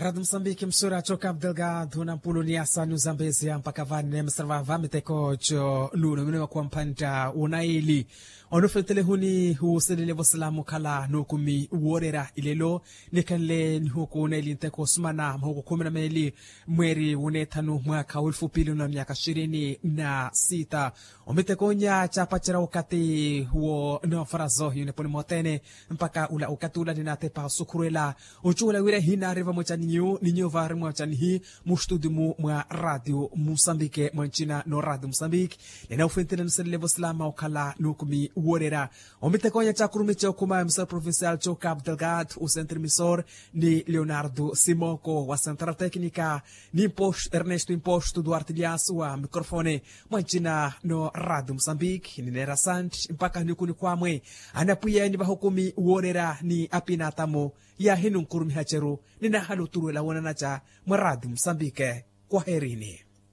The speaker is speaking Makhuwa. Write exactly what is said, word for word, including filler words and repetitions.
Radi musambiki msura choka abdelgado na mpulu ni asani uzambezia mpaka vani ne msara vava miteko cho nuno mino wakuwa mphanta unaili. Ono fentelehuni huuselele vosalamu khala nukumi woorera ilelo. Nikhanle nihuku unaili nteko osumana mahuku khumi na meeli mweri wunethanu mwaka w'elufu pili na myaka shirini na sita. Omitekonya chapacerya wakati wo noofarazo yuneponi mothene mpaka ula wakati ula ninatepa osukhurwela ocuwela wira hinaari vamwecaniyu ni nyuva rimwecanihi. Mustudi mu mwa radio musambike mwa ncina no radio musambike. Nena ufwentile nuselele vosilama okhala nukumi woorera. Omitekonya chakurumice okhuma emisor provincial cho cabo delgado o centre emisor ni leonardo simoko wa central tecnica ni ernesto imposto duarte liaso wa microfone mwa ncina no radio musambike ni nera sante mpaka niku nikhwamwe. Anapwiya ni vahukumi woorera ni apinatamo yahinunkurumiha ceru ni nahaluturuwela wonanaca mwa radio musambike. Kwaherini.